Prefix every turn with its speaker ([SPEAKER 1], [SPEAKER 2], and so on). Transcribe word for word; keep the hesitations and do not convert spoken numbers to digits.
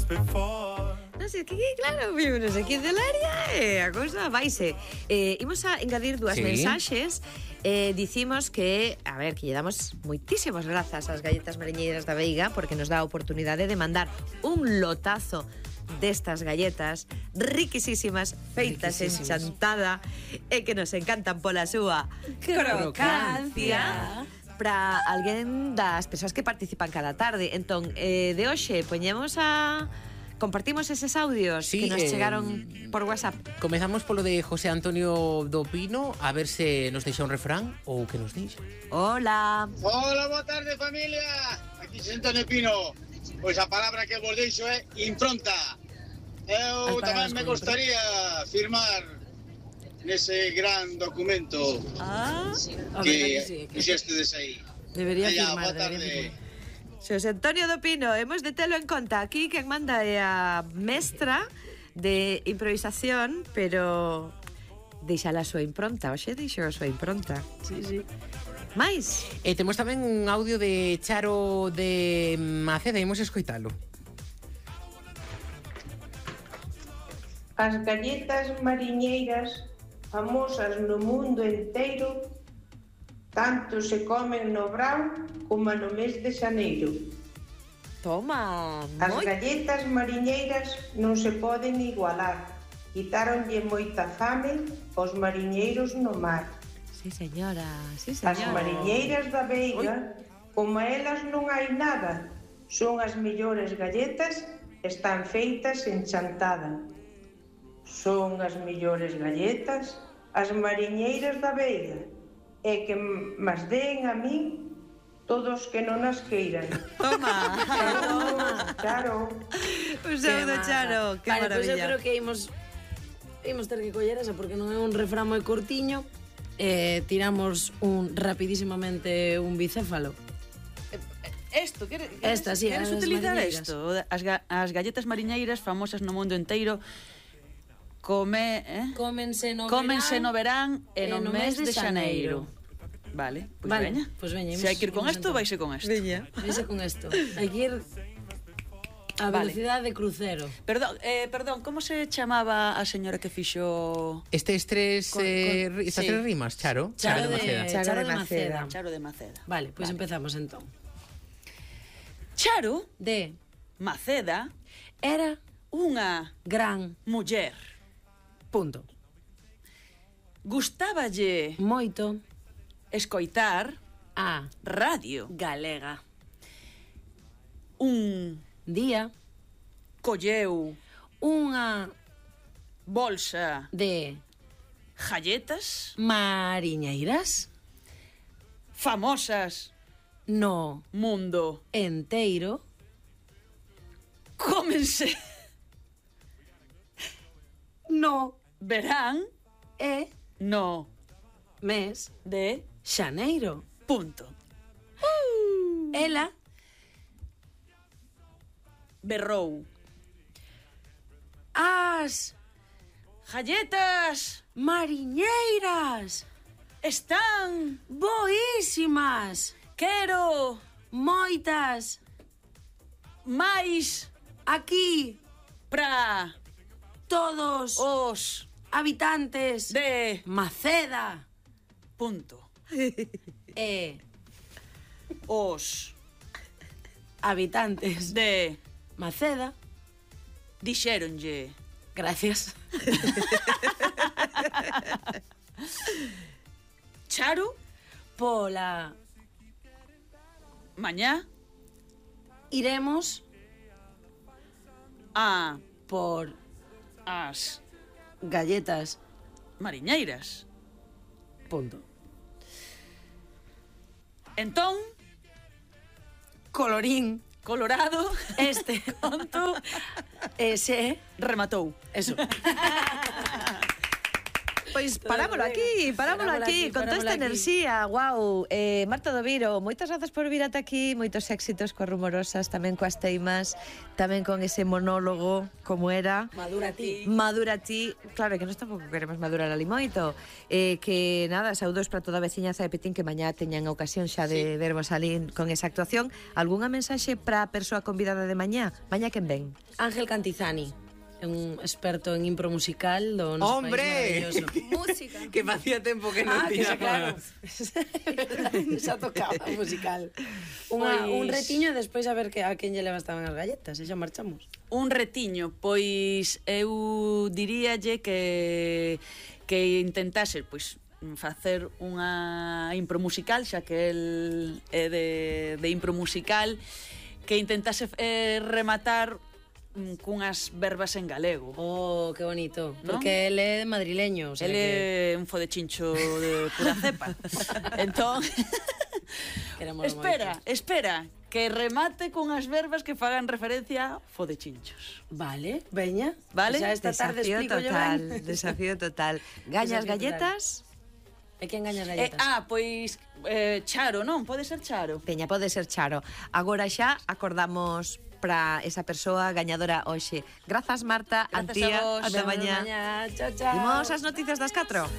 [SPEAKER 1] Non sei, que claro, vimos aquí de Laria e a cousa vaise. Eh, imos a engadir dúas
[SPEAKER 2] Sí.
[SPEAKER 1] mensaxes. Eh, dicimos que, a ver, que lle damos moitísimas grazas ás galletas mariñeiras da Veiga porque nos dá a oportunidade de mandar un lotazo destas galletas riquisísimas, feitas en chantada e que nos encantan pola súa crocancia para alguén das persoas que participan cada tarde. Entón, eh, de hoxe poñemos a... compartimos eses audios
[SPEAKER 2] Sí,
[SPEAKER 1] que nos
[SPEAKER 2] eh,
[SPEAKER 1] chegaron por WhatsApp.
[SPEAKER 2] Comezamos polo de José Antonio do Pino, a ver se nos deixa un refrán ou que nos deixa.
[SPEAKER 1] Hola.
[SPEAKER 3] Hola, boa tarde, familia. Aquí José Antonio Pino. Pois a palabra que vos deixo é impronta. Eu tamén me gustaría firmar nese gran documento
[SPEAKER 1] Ah,
[SPEAKER 3] que fixestedes aí.
[SPEAKER 1] debería
[SPEAKER 3] Allá,
[SPEAKER 1] firmar,
[SPEAKER 3] boa tarde.
[SPEAKER 1] debería firmar. Xosé Antonio do Pino, hemos de telo en conta. Aquí quen manda é a mestra de improvisación, pero deixa a súa impronta. Oxe, deixou a súa impronta.
[SPEAKER 4] Sí, sí.
[SPEAKER 1] Mais?
[SPEAKER 2] E temos tamén un audio de Charo de Maceda, imos escoitalo.
[SPEAKER 5] As galletas mariñeiras, famosas no mundo enteiro, tanto se comen no verán como no mes de xaneiro.
[SPEAKER 1] Toma,
[SPEAKER 5] As
[SPEAKER 1] moi...
[SPEAKER 5] galletas mariñeiras non se poden igualar. Quitáronlle moita fame aos mariñeiros no mar.
[SPEAKER 1] Sí, señora, sí,
[SPEAKER 5] As
[SPEAKER 1] señora.
[SPEAKER 5] mariñeiras da Veiga, como a elas non hai nada, son as mellores galletas, están feitas en chantada. Son as mellores galletas, as mariñeiras da Veiga, e que mas den a min todos que non as queiran.
[SPEAKER 1] Toma.
[SPEAKER 5] Claro.
[SPEAKER 1] Un saúdo, Charo. Que
[SPEAKER 4] vale, pois pues eu
[SPEAKER 1] maravilla.
[SPEAKER 4] creo que imos imos ter que coller esa porque non é un refrán moi cortiño. Eh, tiramos un rapidísimamente un bicéfalo.
[SPEAKER 6] Esto, queres,
[SPEAKER 4] Esta, sí,
[SPEAKER 6] queres
[SPEAKER 4] as
[SPEAKER 6] utilizar
[SPEAKER 4] mariñeiras.
[SPEAKER 6] isto? As, ga, as galletas mariñeiras famosas no mundo enteiro come, eh?
[SPEAKER 4] Cómense no
[SPEAKER 6] Cómense
[SPEAKER 4] verán
[SPEAKER 6] no verán e no, mes de xaneiro. Vale, pois
[SPEAKER 4] Vale,
[SPEAKER 6] veña.
[SPEAKER 4] pois veña,
[SPEAKER 6] Se hai que ir con
[SPEAKER 4] imos
[SPEAKER 6] isto,
[SPEAKER 4] entón.
[SPEAKER 6] vaise con isto.
[SPEAKER 1] Veña.
[SPEAKER 4] Veise con isto. Hai que ir a
[SPEAKER 6] Vale.
[SPEAKER 4] velocidade de crucero.
[SPEAKER 6] Perdón, eh, perdón, como se chamaba a señora que fixo
[SPEAKER 2] Estes tres,
[SPEAKER 4] Con-
[SPEAKER 2] eh,
[SPEAKER 4] con-
[SPEAKER 2] ri- estas
[SPEAKER 6] sí.
[SPEAKER 2] tres rimas, Charo?
[SPEAKER 4] Charo de,
[SPEAKER 2] Maceda.
[SPEAKER 1] Charo
[SPEAKER 4] Charo
[SPEAKER 1] de
[SPEAKER 4] de Maceda.
[SPEAKER 6] Charo de Maceda?
[SPEAKER 4] Vale, pois empezamos entón.
[SPEAKER 6] Charo
[SPEAKER 4] De
[SPEAKER 6] Maceda
[SPEAKER 4] era
[SPEAKER 6] unha
[SPEAKER 4] gran
[SPEAKER 6] muller.
[SPEAKER 4] punto.
[SPEAKER 6] Gustáballe
[SPEAKER 4] Moito
[SPEAKER 6] escoitar
[SPEAKER 4] a
[SPEAKER 6] radio
[SPEAKER 4] galega.
[SPEAKER 6] un
[SPEAKER 4] Día
[SPEAKER 6] colleu
[SPEAKER 4] unha
[SPEAKER 6] bolsa
[SPEAKER 4] de
[SPEAKER 6] galletas
[SPEAKER 4] mariñeiras
[SPEAKER 6] famosas
[SPEAKER 4] no
[SPEAKER 6] mundo
[SPEAKER 4] enteiro
[SPEAKER 6] cómense
[SPEAKER 4] no
[SPEAKER 6] verán
[SPEAKER 4] e
[SPEAKER 6] no
[SPEAKER 4] mes
[SPEAKER 6] de
[SPEAKER 4] xaneiro.
[SPEAKER 6] punto.
[SPEAKER 4] Ela
[SPEAKER 6] Berrou
[SPEAKER 4] as
[SPEAKER 6] galletas
[SPEAKER 4] mariñeiras
[SPEAKER 6] están
[SPEAKER 4] boísimas,
[SPEAKER 6] quero
[SPEAKER 4] moitas
[SPEAKER 6] máis
[SPEAKER 4] aquí
[SPEAKER 6] pra
[SPEAKER 4] todos
[SPEAKER 6] os
[SPEAKER 4] habitantes
[SPEAKER 6] de
[SPEAKER 4] Maceda
[SPEAKER 6] punto.
[SPEAKER 4] e
[SPEAKER 6] Os
[SPEAKER 4] habitantes
[SPEAKER 6] de
[SPEAKER 4] Maceda.
[SPEAKER 6] dixéronlle
[SPEAKER 4] Gracias.
[SPEAKER 6] Charo
[SPEAKER 4] Pola
[SPEAKER 6] mañá
[SPEAKER 4] iremos
[SPEAKER 6] a
[SPEAKER 4] por
[SPEAKER 6] as
[SPEAKER 4] galletas.
[SPEAKER 6] mariñeiras.
[SPEAKER 4] Punto.
[SPEAKER 6] Entón,
[SPEAKER 4] Colorín
[SPEAKER 6] Colorado
[SPEAKER 4] este
[SPEAKER 6] conto
[SPEAKER 4] ese
[SPEAKER 6] rematou.
[SPEAKER 4] eso.
[SPEAKER 1] pois parámolo aquí, parámolo aquí, con toda esta enerxía, guau. Eh, Marta Doviro, moitas grazas por vir ata aquí, moitos éxitos coas rumorosas, tamén coas teimas, tamén con ese monólogo, como era.
[SPEAKER 4] Madura ti.
[SPEAKER 1] Madura ti, claro, que nós tampouco queremos madurar ali moito. Eh, que nada, saúdos para toda a veciñaza de Petín que mañá teñan a ocasión xa de sí. vermos ali con esa actuación. Algúnha mensaxe para a persoa convidada de mañá? Mañá quen ven?
[SPEAKER 4] Ángel Cantizani, un experto en impro musical do noso
[SPEAKER 2] ¡hombre!
[SPEAKER 4] país maravilloso.
[SPEAKER 7] Música.
[SPEAKER 2] Que facía tempo que non
[SPEAKER 4] Ah, que xa,
[SPEAKER 2] tiñamos.
[SPEAKER 4] claro. Xa tocaba musical. Unha,
[SPEAKER 6] Pois-
[SPEAKER 4] un retiño e despois a ver que a quen lle levastaban as galletas, e xa marchamos.
[SPEAKER 6] Un retiño, pois eu diríalle que que intentase pois facer unha impro musical, xa que el é de, de impro musical, que intentase eh, rematar mm, cunhas verbas en galego.
[SPEAKER 4] Oh, que bonito.
[SPEAKER 6] ¿No?
[SPEAKER 4] Porque él é madrileño, o sea
[SPEAKER 6] El
[SPEAKER 4] que...
[SPEAKER 6] é un fodechincho de pura cepa. Entón,
[SPEAKER 4] Queremos
[SPEAKER 6] espera,
[SPEAKER 4] moito.
[SPEAKER 6] espera, que remate con as verbas que fagan referencia a fodechinchos.
[SPEAKER 4] Vale, veña.
[SPEAKER 6] Vale.
[SPEAKER 4] Xa esta tarde
[SPEAKER 1] Desafío
[SPEAKER 4] explico yo
[SPEAKER 1] total,
[SPEAKER 4] ben.
[SPEAKER 1] desafío total. Gañas
[SPEAKER 4] Desafío
[SPEAKER 1] galletas?
[SPEAKER 4] E quen gaña as
[SPEAKER 6] Eh,
[SPEAKER 4] galletas?
[SPEAKER 6] ah, pois eh, Charo, non? Pode ser Charo.
[SPEAKER 1] Peña, pode ser Charo. Agora xa acordamos para esa persoa gañadora hoxe. Grazas, Marta,
[SPEAKER 6] Grazas
[SPEAKER 1] Antía,
[SPEAKER 6] a vos.
[SPEAKER 1] ata
[SPEAKER 4] Vemos
[SPEAKER 1] mañá.
[SPEAKER 4] mañá. Chao, chao.
[SPEAKER 1] Imos as noticias das catro.